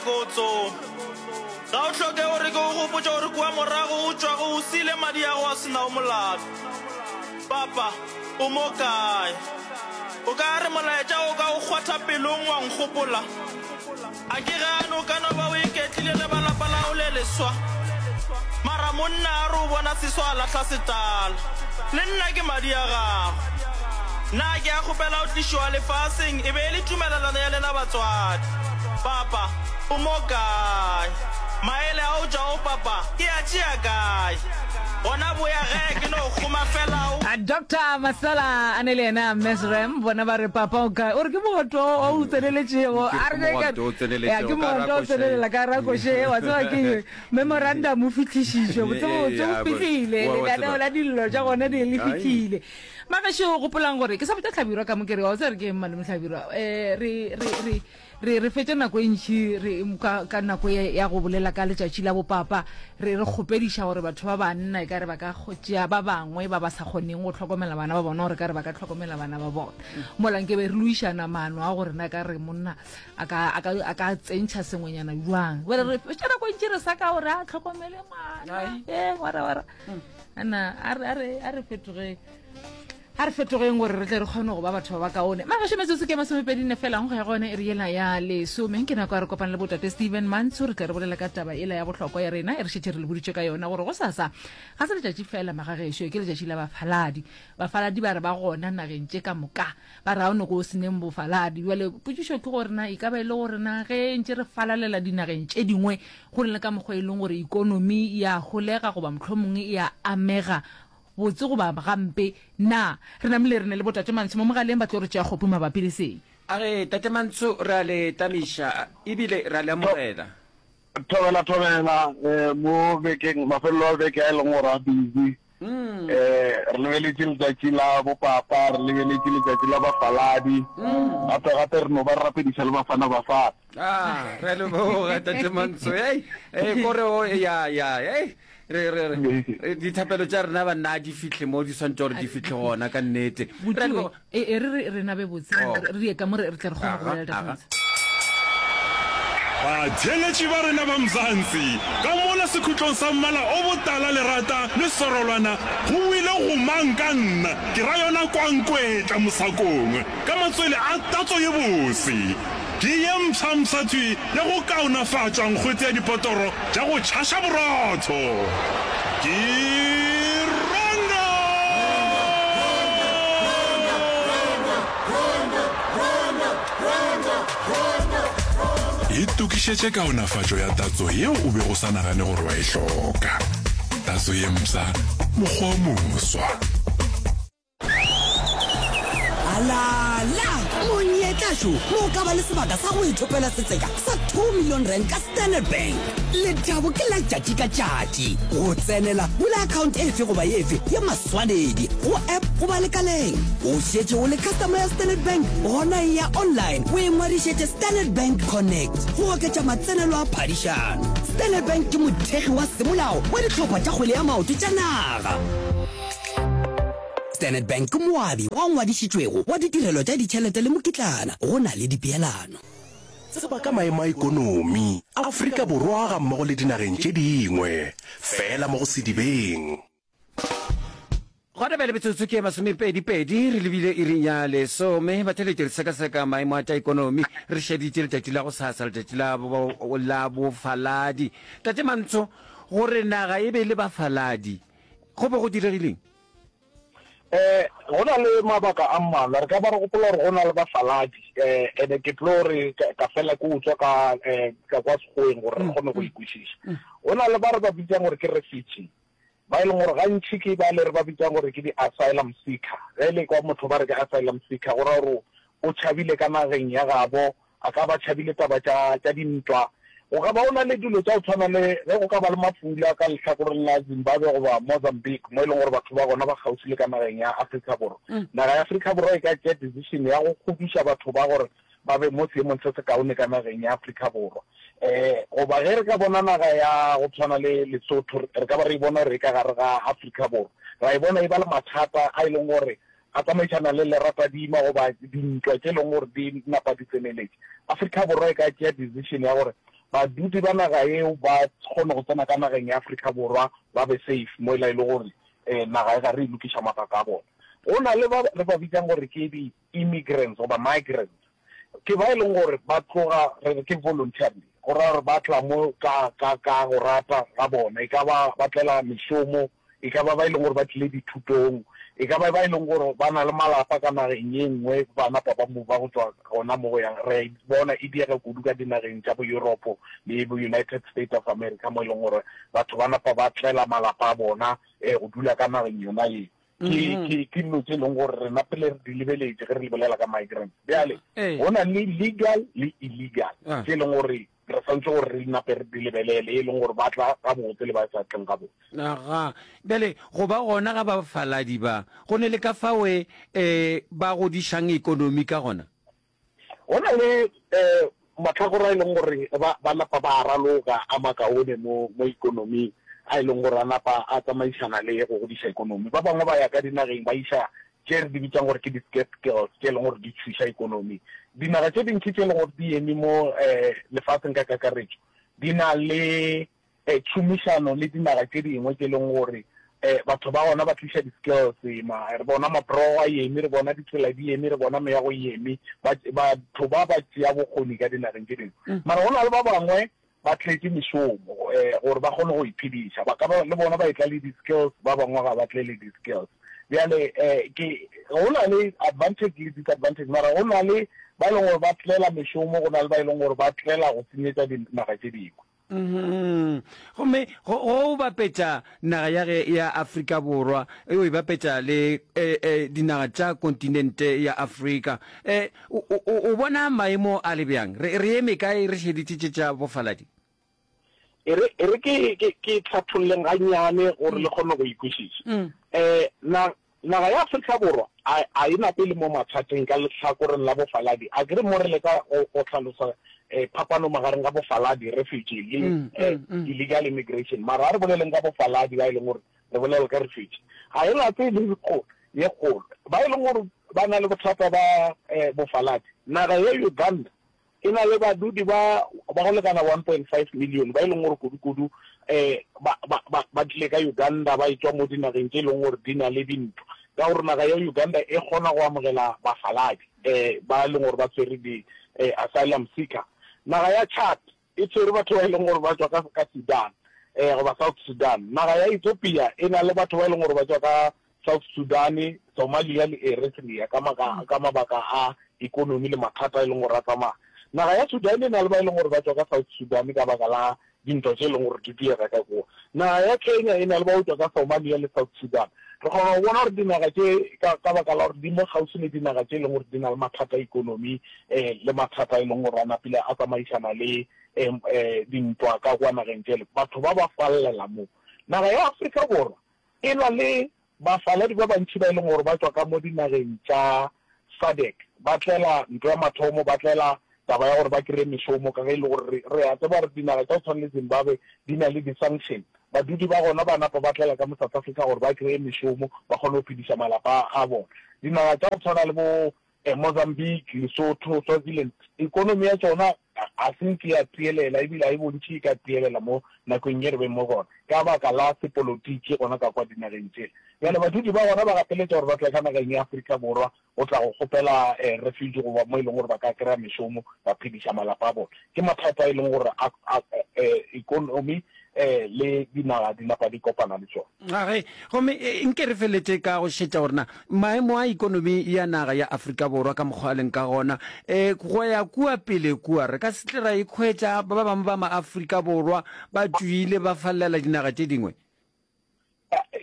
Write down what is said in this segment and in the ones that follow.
ko o tsome. Ga o hloke gore ke go gopotše gore kua morago o tšwago o siile madi a go a se nago molato. Papa, o mo kae? O ka re molaetša o ka o kgwatha pelong wa nkgopola? A ke gane o ka no ba o iketlile le ba lapa lago le leswa. Mara monna a re o bona seswa a lahla setala. Le nna ke madi a gago. Na ke a kgopela go tlišoa lefaseng e be e le tumelelano ya lena batswadi. Papa, o mo kae? Maele a o tšwago papa ke a tšea kae? Gona boya ge ke no kgoma fela o. Doctor Masela a ne le yena Mesrem bona ba re papa o kae o re ke mogoto o o tseneletšego a re ke mogoto o tsenelela ka rakoše wa tseba ke memorandum o fihlišišwe botsebotse o fihlile lenaneo la dillo tša gona di le fihlile magešo gopolang gore ke sa botša hlabirwa ka mo ke re wa tseba re ke eng malome hlabirwa um re re re Re, re fetša nako e ntši re, ka, ka nako ye ya go bolela ka letšatši la bopapa, re, re kgopediša gore batho ba banna e ka re ba ka tšea ba bangwe ba ba sa kgoneng go hlokomela bana ba bona gore ka re ba ka hlokomela bana ba bona. Mola nke be re loišana maano a gore na ka re monna a ka, a ka, a ka tsentšha sengwenyana bjang. Bjale re fetša nako e ntši re sa ka gore a hlokomele ngwana. Ee, wara, wara. Ana, a re, a re, a re fetogeng. A re fetogeng gore re tle re kgone go ba batho ba bakaone. Magašo metsotso ke masomepedine fela go ya go yone iri yela ya lesome. Ke nako ya re kopana le botate Steven Mantsho re tle re bolela ka taba yela ya bohlokwa ya rena e re šetše re le boditše ka yona gore gosasa ga se letšatši fela magagešo ke letšatši la bafaladi. Bafaladi ba re ba gona nageng tše ka moka ba re ga o ne go se neng bofaladi. Bjale potšišo ke gore na e ka ba e le gore na ge ntše re falalela dinageng tše dingwe go na le ka mokgwa e leng gore ikonomi ya holega goba mohlomongwe e a amega Botse goba gampe, na re namile re ne le boTate Mantsho mo mogaleng ba tlo re tšea kgopu mabapi le se? A re, Tate Mantsho, re a le tamiša ebile re a le amogela. Thobela thobela eh, mo bekeng mafelelo a beke a e leng gore a busy mm. eh re lebeletše letšatši la bopapa re lebeletše letšatši la bafaladi mm. gape gape re no ba re rapediša le bafana bafana ah re leboga tate mantsho ei ei kore o ya ya ei re re re dithapelo tša rena banna di fihle mo di swantse gore di fihle gona ka nnete e e re re rena be botse oh. re ye ka mo re tle re kgone go bolela tate Batheeletši ba rena ba Mzansi, ka mola sekhutlong sa mmala o botala lerata le serolwana go wile gomang ka nna, ke ra yona kwankwetla mosakong ka matswele a tatso ye bose. Ke ye mpsha-mpsha thwi ya go kaonafatša nkgwete ya dipotoro tša go tšhaša borotho. Ke Rondo! Itokišetše kaonafatšo ya tatso yeo o bego o sa nagane gore wa e hloka. Tatso ye mpsha, mokgwa o moswa. Alala! Monyetla šo mo o ka ba le sebaka sa go ithopela setseka sa 2 million rand ka Standard Bank. Lethabo ke la tšatši ka tšatši. Go tsenela, bula account efe goba efe ya maswanedi go app goba lekaleng. O šetše o le customer ya Standard Bank? Gona eya online o ingwadišetše Standard Bank Connect go oketša matsenelo a phadišano. Standard Bank ke mothekgi wa semolao wa dihlopha tša kgwele ya maoto tša naga. Standard Bank ke moabi wa ngwadišitšwego wa ditirelo tša ditšhelete le mokitlana go na le dipeelano. Tseba ka maemo a ikonomi Afrika Borwa gammogo le dinageng tše dingwe, feela mo go Sedibeng. Gona bjale metsotso ke masomepedi-pedi re lebile iring ya lesome. Batheeletši re sekaseka maemo a tša ikonomi re šeditše letšatši la gosasa, letšatši la, la bofaladi. Tate Mantsho, gore naga e be le bafaladi go be go diregileng? Um go na le mabaka a mmalwa. Re ka ba re gopola gore go na le bafaladi, um ene ke tlo re ka fela ke utswa ka um ka kwa Sekgoweng gore re kgone go e kwešiša. Go na le ba re ba bitsang gore ke refugee, ba e leng gore gantši ke ba le re ba bitsang gore ke di-asylum seeker. Ge e le kwa motho ba re ke asylum seeker, go ra gore o tšhabile ka nageng ya gabo A ka ba tšhabile taba tša, tša dintwa. Go ka ba go na le dilo tša go tshwana le ge go ka ba le mafula ka lehlakoreng la Zimbabwe goba Mozambique, mo e leng gore batho ba gona ba kgauswi le ka nageng ya Afrika Borwa. Naga ya Afrika Borwa e ka tšea decision ya go huduša batho ba gore ba be mo seemong se sekaone ka nageng ya Afrika Borwa. Um goba ge re ka bona naga ya go tshwana le Lesotho, re ka ba re e bona gore e ka gare ga Afrika Borwa, ra e bona e ba le mathata a e leng gore a tsamaišana le leratadima goba dintwa tše e leng gore di napa di tseneletše, Afrika Borwa e ka tšea decision ya gore badudi ba naga yeo ba kgone go tsena ka nageng ya Afrika Borwa ba be safe mola e le gore naga e gare e lokiša mabaka a bona. Go na le ba re ba bitsang gore ke di-immigrants goba migrants, ke ba e leng gore ba tloga re re ke voluntarily, go raya gore ba tla mo ka, ka, ka go rata ga bona, e ka ba ba tlela mešomo, e ka ba ba e leng gore ba tlile dithutong, e ka ba ba e leng gore ba na le malapa ka nageng ye nngwe, ba napa ba mova go tšwa gona mo go yang. Re a e bona e diega kudu ka dinageng tša bo Europe le bo United States of America mo e leng gore batho ba napa ba tlela malapa a bona go dula ka nageng yona ye. Ke, ke, ke dilo tše e leng gore rena pele re di lebeletše ge re bolela ka migrants. Bjale, go na le legal le illegal tše e leng gore re swanetše gore re nape re di lebelele, e leng gore ba tla gabotse le ba sa tleng gabotse. Aga, bjale go ba gona ga bafaladi ba, go ne le ka fao e ba godišang ekonomi ka gona? Go na le mahlakore a e leng gore ba, ba napa ba a raloka a makaone mo, mo ekonoming, a e leng gore a napa a tsamaišana le go godiša ekonomi. Ba bangwe ba ya ka dinageng ba iša tše re di bitšang gore ke di-scarce skills tše e leng gore di thuša ekonomi. Dinaga tše dintši tše e leng gore di eme mo lefaseng ka kakaretšo di na le tšhomišano le dinaga tše dingwe tše e leng gore batho ba gona ba tliša di-skills. Re bona mabrogo a eme, re bona ditsela di eme, re bona meago e eme, batho ba ba tšea bokgoni ka dinageng tše dingwe. Mara go na le ba bangwe ba tletše mešomo gore ba kgone go iphediša. Ba ka ba le bona ba etla le di-skills, ba bangwe ga ba tle le di-skills. Bjale ke go na le advantage le disadvantage, mara go na le ba e leng gore ba tlela mešomo, go na le ba e leng gore ba tlela go senyetša dinaga tše dingwe. Gomme go o bapetša naga ya ge ya Afrika Borwa, o e bapetša le dinaga tša kontinente ya Afrika, o, o, o bona maemo a le bjang? Re, re eme kae re šeditše tše tša bofaladi? E re, e re ke, ke, ke hlatholleng gannyane gore le kgone go e kwešiša. Na, Naga ya Afrika Borwa a, a e nape le mo mathateng ka lehlakoreng la bofaladi. A ke re mo re leka go, go hlalosa eh, phapano magareng ga bofaladi, refugee, le mm, eh, mm, mm. illegal immigration. Mara a re boleleng ka bofaladi ba e leng gore re bolela ka refugee. Ga e nape e le kgolo, ye kgolo. Ba e leng gore ba na le bothata ba eh, bofaladi. Naga ya Uganda E na le badudi ba ba go lekana 1.5 million ba e leng gore kudu-kudu ba, ba, ba, ba tlile ka Uganda ba etšwa mo dinageng tše e leng gore di na le dintwa. Ka gore naga ya Uganda e kgona go amogela bafaladi ba e leng gore ba tshwere di asylum seeker. Naga ya Chad e tshwere batho ba e leng gore ba tšwa ka, ka Sudan goba South Sudan. Naga ya Ethiopia e na le batho ba e leng gore ba tšwa ka South Sudan, Somalia le Eritrea ka maka, ka mabaka a ekonomi le mathata a e leng gore a tsamaya. Naga ya Sudan e na le ba e leng gore ba tšwa ka South Sudan ka baka la dintwa tše e leng gore di diega ka kua. Naga ya Kenya e na le ba go tšwa ka Somalia le South Sudan. Re kgona go bona gore dinaga tše ka, ka baka la gore di mo kgauswi le dinaga tše e leng gore di na le mathata a ekonomi um le mathata a e leng gore a napile a tsamaišana le um dintwa ka kua nageng tšele, batho ba ba fallela mo. Naga ya Afrika Borwa E na le bafaladi ba bantši ba e leng gore ba tšwa ka mo dinageng tša SADC, ba tlela ntwa ya mathomo, ba tlela taba ya gore ba kry-e mešomo ka ge e le gore re, re a tseba gore dinaga tša go tshwana le Zimbabwe di na le di-sanction. Badudi ba gona ba napa ba tlela ka mo South Africa gore ba kry-e mešomo, ba kgone go phediša malapa a bona. Dinaga tša go tshwana le bo Mozambique, Lesotho, Swaziland, ekonomi ya tšona ga se nke ya tielela ebile ga e bontšhe e ka tielela mo nakong ye re beng mo gona ka baka la sepolotiki gona ka kwa dinageng tšela. Bjale badudi ba gona ba gapeletša gore ba tle ka nageng ya Afrika Borwa go tla go kgopela refuge goba mo e leng gore ba ka kry-a mešomo ba phediša malapa a bona. Ke mathata a e leng gore a ekonomi le dinaga di napa di kopana le tšona. Age, gomme nke re feletše ka go šetša gore na maemo a ikonomi ya naga ya Afrika Borwa ka mokgwa a leng ka gona, e, go ya kua pele kua, re ka se tle ra ikhwetša ba bangwe ba ma-Afrika Borwa ba tšwile ba fallela dinaga tše dingwe.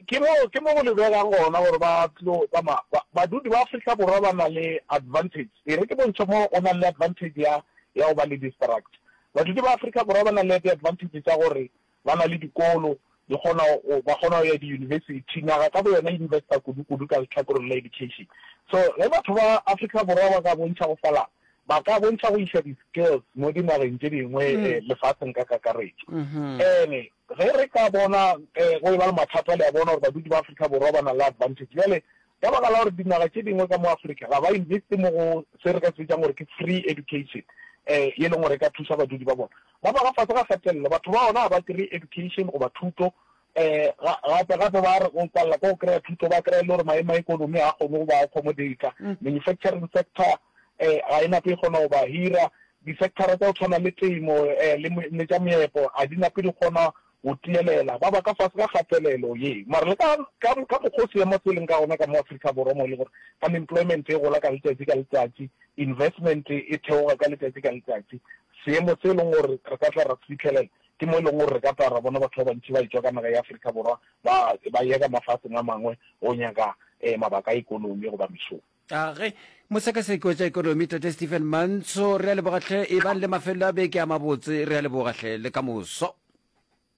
Ke mo, ke mo go lebegang gona gore ba tlo tsamaya. Ba, badudi ba Afrika Borwa ba na le advantage. E re ke bontšhe mo go nang le advantage ya, ya go ba le di-structure. Badudi ba Afrika Borwa ba na le di-advantage tša gore ba na le dikolo, di kgona go, ba kgona go ya diyunibesithi. Naga ka boyona e investa kudu-kudu ka lehlakoreng la education. So ge batho ba Afrika Borwa ba ka bontšha go falala, ba ka bontšha go iša di-skills mo dinageng tše dingwe lefaseng ka kakaretšo. Ene ge re ka bona go eba le mathata, le a bona gore badudi ba Afrika Borwa ba na le advantage. Bjale Ka baka la gore dinaga tše dingwe ka mo Afrika ga ba investe mo go se re ka se bitsang gore ke free education. um ye leng gore e ka thusa badudi ba bona. Ba ba ka fase ga kgatelelo, batho ba ona ga ba kry-e education goba thuto, um gape gape ba re go palela ke go kry-a thuto, ba kry-a e le gore maemo a ikonomi ga a kgone go ba accommodate-a, manufacturing sector um ga e nape e kgona go ba hira, di-sector-a tsa go tshwana le temo um le le tša meepo ga di nape di kgona go tielela, ba ba ka fase ga kgatelelo ye. Mara le ka, ka, ka mokgwa o seemo se leng ka gona ka mo Afrika Borwa mo e le gore unemployment e gola ka letšatši ka letšatši, investment e theoga ka letšatši ka letšatši, seemo se e leng gore re ka tla ra se fihlelela ke mo e leng gore re ka tla ra bona batho ba bantši ba etšwa ka naga ya Afrika Borwa ba, ba ya ka mafaseng a mangwe go nyaka eh, mabaka a ikonomi goba mešomo. A ge mosekaseki wa tša ekonomi Tate Stephen Mantsho, re a leboga hle, ebang le mafelelo a beke a mabotse, re a leboga hle, le ka moso.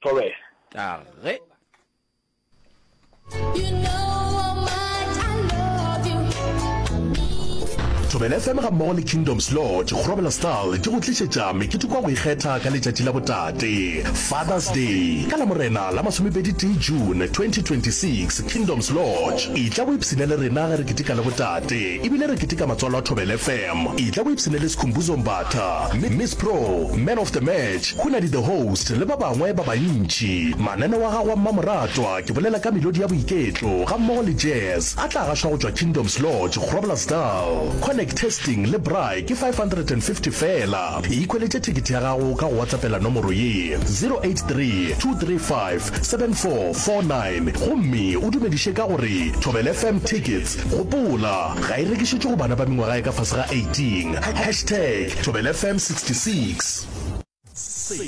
Thobela. A ge. You know how much I love you. Thobela FM gammogo le Kingdoms Lodge, Groblersdal di go tlišetša meketeko ya go ikgetha ka letšatši la botate, Father's Day, ka Lamorena la masomepedi-tee June 2026, Kingdoms Lodge. Etla o ipshine le rena ge re keteka le botate ebile re keteka matswalo a Thobela FM. Etla o ipshine le Skhumbuzo Mbatha, Miss Pro, Man of the Match, Hunadi the Host le ba bangwe ba bantši. Mananeo a gago a mmamoratwa, ke bolela ka melodi ya boiketlo gammogo le jazz, a tla gašwa go tšwa Kingdoms Lodge, Groblersdal. Connect Testing le Braai ke 550 feela. Ikhweletše thekethe ya gago ka go WhatsAppela nomoro ye, 083 235 7449 gomme o dumediše ka gore Thobela FM Tickets. Gopola, ga e rekišetšwe go bana ba mengwaga ya ka fase ga 18. Hashtag Thobela FM 66. Se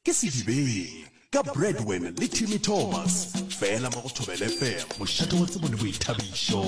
ke Sedibeng ka Bradwin le Timmy Thomas, fela mo go Thobela FM, mošate wa tsebo le boithabišo.